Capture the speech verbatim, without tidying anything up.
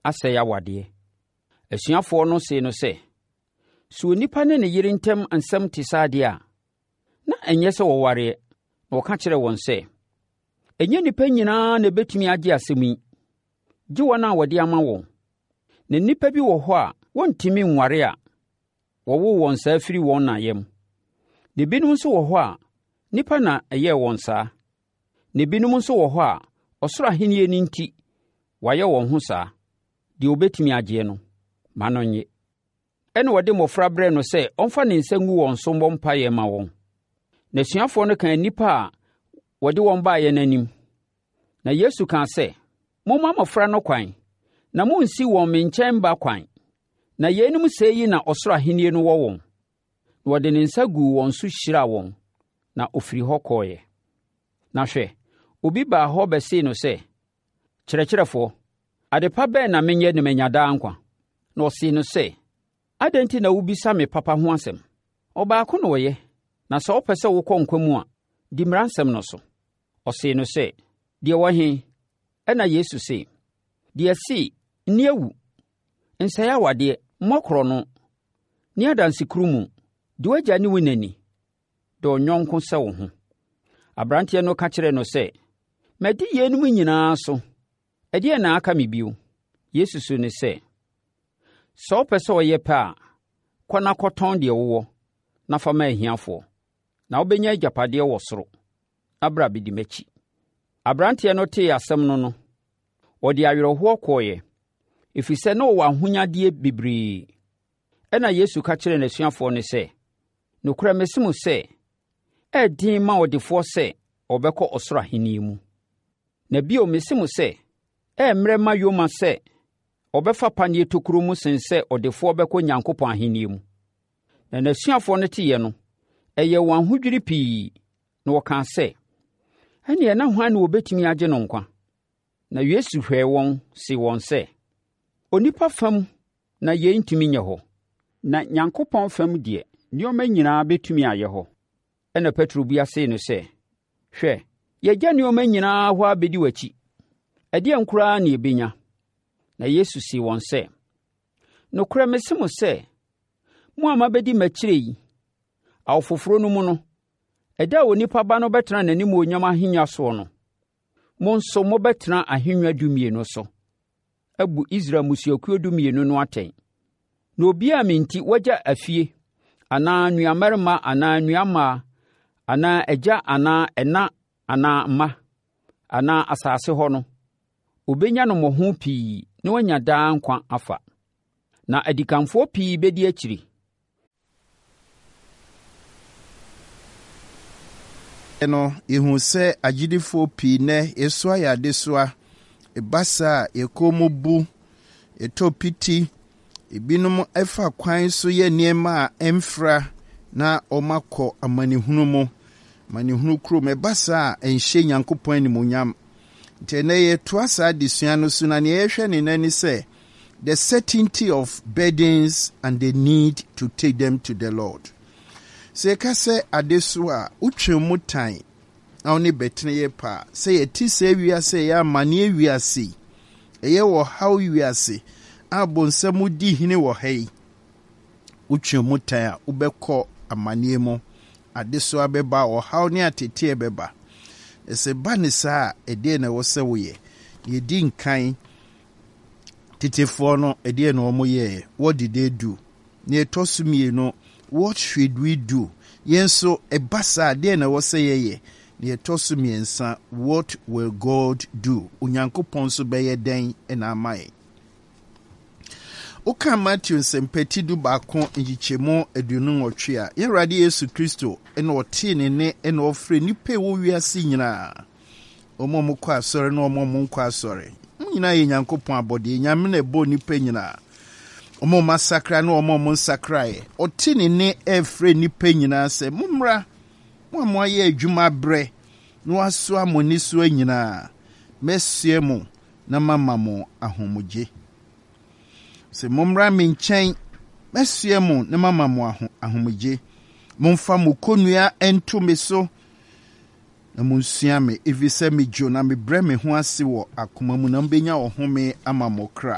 asɛe awadeɛ. Asuafoɔ no see no sɛ, Sɛ onipa ne ne yere ntam nsɛm te saa deɛ a, na ɛnyɛ sɛ wɔwareɛ. Na ɔka kyerɛɛ wɔn sɛ, Ɛnyɛ nnipa nyinaa na ɛbɛtumi agye asɛm yi, gye wɔn a wɔde ama wɔn. Na nnipa bi wɔ hɔ a wɔntumi nware a wɔwoo wɔn saa firi wɔn na yam. Na ebinom nso wɔ hɔ a nnipa na ɛyɛɛ wɔn saa. Na ebinom nso wɔ hɔ a ɔsoro ahennie no nti wɔayɛ wɔn ho saa. Deɛ ɔbɛtumi agyeɛ no, ma no nnye. Ɛnna wɔde mmɔfra brɛɛ no sɛ ɔmfa ne nsa ngu wɔn so mmɔ mpaeɛ mma wɔn. N'asuafoɔ no kaa nnipa a wɔde wɔn baeɛ no anim. Na Yesu kaa sɛ, Momma mmɔfra no kwan, na monnsi wɔn me nkyɛn ba kwan, na yeinom sɛɛ yi na ɔsoro ahennie no wɔ wɔn. Na ɔde ne nsa guu wɔn so hyiraa wɔn, na ɔfiri hɔ kɔeɛ. Na hwɛ, obi baa hɔ bɛsee no sɛ, Kyerɛkyerɛfoɔ, ade pa bɛn na menyɛ na manya daa nkwa? Na ɔsee no sɛ, Adɛn nti na wobisa me papa ho asɛm? Ɔbaako na ɔyɛ, na sɛ wopɛ sɛ wokɔ nkwa mu a, di mmara nsɛm no so. Ɔsee no sɛ, Deɛ wɔ he? Ɛnna Yesu se, Deɛ se, nni awu, nsɛe awadeɛ, mmɔ korɔno, nni adansekurumu, di w'agya ne wo na ni, dɔ wo yɔnko sɛ wo ho. Aberanteɛ no ka kyerɛɛ no sɛ, Madi yeinom nyinaa so, ɛdeɛn na aka me bio? Yesu see no sɛ, Sɛ wopɛ sɛ ɔyɛ pɛ a, kɔ na kɔtɔn deɛ wowɔ na fa ma ahiafoɔ, na wobɛnya agyapadeɛ wɔ soro. Na bra bɛdi m'akyi. Aberanteɛ no tee asɛm no no, ɔde awerɛhoɔ kɔeɛ, ɛfiri sɛ na ɔwɔ ahonyadeɛ bebree. Ɛnna Yesu ka kyerɛɛ n'asuafoɔ no sɛ, Nokorɛ mese mo sɛ, ɛyɛ den ma ɔdefoɔ sɛ ɔbɛkɔ ɔsoro ahennie mu. Na bio mese mo sɛ, ɛyɛ mmerɛ ma yoma sɛ ɔbɛfa paneɛ tokuro mu sen sɛ ɔdefoɔ bɛkɔ Nyankopɔn ahennie mu. Na n'asuafoɔ no teeɛ no, ɛyɛɛ wɔn ahodwiri pii, na wɔkaa sɛ, Ɛnneɛ na hwan na wɔbɛtumi agye no nkwa? Na Yesu hwɛɛ wɔn see wɔn sɛ, Onipa fam na yei ntumi nyɛ hɔ, na Nyankopɔn fam deɛ, nneɛma nyinaa bɛtumi ayɛ hɔ. Ɛnna Petro bua see no sɛ, Hwɛ, yɛagya nneɛma nyinaa hɔ abɛdi w'akyi. Ɛdeɛn koraa na yɛbɛnya? Na Yesu see wɔn sɛ, Nokorɛ mese mo sɛ, mo a mabɛdi m'akyire yi, awo foforɔ no mu no, ɛda a Onipa Ba no bɛtena n'animuonyam ahennwa soɔ no, mo nso mobɛtena ahennwa dumienu so, abu Israel mmusuakuo dumienu no atɛn. Na obiara a me nti wagya afie, anaa nuammarima anaa nuammaa, anaa agya anaa ɛna anaa mma, anaa asase hɔ no, obɛnya no mmɔho pii na wanya daa nkwa afa. Na adikanfoɔ pii bɛdi akyiri. No, yɛhu sɛ agyidifoɔ pii nnɛ yɛsoa yɛ adesoa. Ɛba saa a, yɛn kɔn mu bu, yɛtɔ piti, ebinom fa kwan so yɛ nneɛma a ɛmfra na wɔakɔ amanehunu mu, amanehunu kurom. Ɛba saa a, ɛnhyɛ Nyankopɔn animuonyam. Nti ɛnnɛ yɛtoa saa adesua no so na nea yɛhwɛ ne nnɛ ne sɛ the certainty of burdens and the need to take them to the Lord. Sɛ yɛka sɛ adesoa a, wotwe mu tan na wo ne bɛtene yɛ paa. Sɛ yɛte saa wiase a ɛyɛ amanneɛ wiase yi, ɛyɛ ɔhaw wiase a bonsam di hene wɔ ha yi, wotwe mu tan a, wobɛkɔ amanneɛ mu. Adesoa bɛba, ɔhaw ne ateteɛ bɛba. Na sɛ ba ne saa a, ɛdeɛn na ɛwɔ sɛ woyɛ? Deɛ ɛdi nkan, tetefoɔ no, ɛdeɛn na wɔn yɛɛ? What did they do? Nea ɛtɔ so mmienu, what should we do? Yɛn nso, ɛba saa a, deɛn na ɛwɔ sɛ yɛyɛ? Nea ɛtɔ so mmiɛnsa, what will God do? Onyankopɔn nso bɛyɛ dɛn na ama yɛn? Woka Matthew nsɛmpa ti du baako nkyekyɛmu aduonu nwɔtwe a, yɛn Awurade Yesu Kristo na ɔtee ne nne na ɔfrɛ nnipa a ɛwɔ wiase nyinaa, wɔn a wɔkɔ asɔre ne wɔn a wɔnkɔ asɔre. Wɔn nyinaa yɛ Nyankopɔn abɔdeɛ. Nyame na ɛbɔɔ nnipa nyinaa. Wɔn a wɔasakra ne wɔn a wɔnsakraeɛ. Ɔte ne nne ɛrefrɛ nnipa nyinaa sɛ, mommra, mo a moayɛ adwuma abrɛ na wɔasoa mo nnesoa nyinaa, mɛsoɛ mo na mama mo ahomegye. Sɛ mommra me nkyɛn, mɛsoɛ mo na mama mo ahomegye. Momfa mo kɔnnua nto me so na monsua me, ɛfiri sɛ medwo na mebrɛ me ho ase wɔ akoma mu na mobɛnya ɔhome ama mo kra.